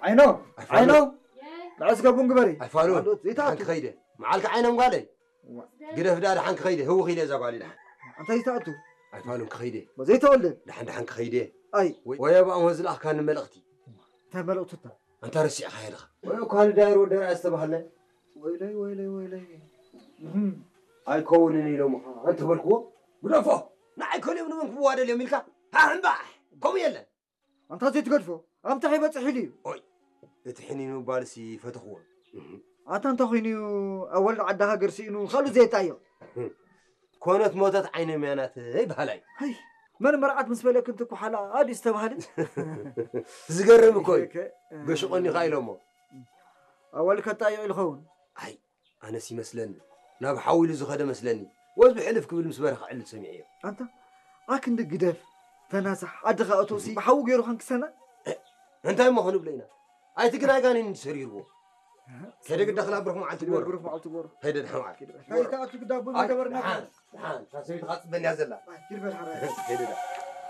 ዓይኖ ኣይፋሉ። ንዕስ ገቡን ግበሪ። ኣይፋሉ። ደሓን ክኸይደ መዓልካ ዓይኖም ጓለይ። ግደፍ ደኣ ደሓን ክኸይደ ህውኽ ኢለ እዛ ጓል ደሓን። እንታይ ዝተኣቱ? ኣይፋሉን ክኸይደ። ዘይተወልደ። ደሓን ደሓን ክኸይደ። ኣይ። ወይ ኣባኦም ዝለኣኽካኒ መልእኽቲ። እንታይ መልእኽቲ እታ? ኣንታ ረሲዕካ የለኻ። ወይ እኳ ንዳይር ወደራ ዝተባህለ። ወይለይ ወይለይ ወይለይ። ኣይከውንን ኢሎምኻ እንተበልክዎ ግደፎ። ንዓይ ከልኦም ንመን ክዋደል እዮም ኢልካ? ሃሕምባሕ። ከምኡ የለን። ኣንታ ዘይትገድፎ ኣምታ ከይበፅሕ ኢሉ እዩ። ኦይ እቲ ሕኒኑ ባልሲ ፈተኽዎ። ኣታ እንተ ኮይኑ ኣወልድ ዓዲ ሃገር ስኢኑ ካልኡ ዘየጣዮ። ኮነት ሞተት ዓይነ ምያናት ይበሃላይ። ኣይ መን መርዓት ምስ በለክ እንት ኩሓላ ኣዲ ዝተባህለ። ዝገርም እኮ እዩ። ገሽቆኒ ካ ኢሎሞ። ኣወልድ ከጣዮ ኢልኸውን። ኣይ ኣነስ ይመስለኒ ናብ ሓዊ ኢሉ ዝኸደ መስለኒ። ወዝ ብሕልፍ ክብል ምስ በረኻ ዕልል ሰሚዐዮ። ኣንታ ኣክንዲ ግደፍ ተናሳሕ ዓድኻ እቶሲ ብሓዊ ገይሩ ከንክሰና። እንታይ እሞ ክንብሎ ኢና? ኣይቲ ግን ኣይጋኔን እንዲ ሰሪርዎ። ከደ ግዳ ክላብርኽ መዓልቲ ጎሮ። ብሩኽ መዓልቲ ጎሮ። ከደ ድሓን መዓልቲ። እንታይ ተኣቱ ግዳ ቡን ኣይ፣ ገበርና። ድሓን፣ ድሓን፣ እታ ሰበይቲ ኻጽበንያ ዘላ። ኣይ፣ ይርበል ሓራይ። ከደ ድሓን።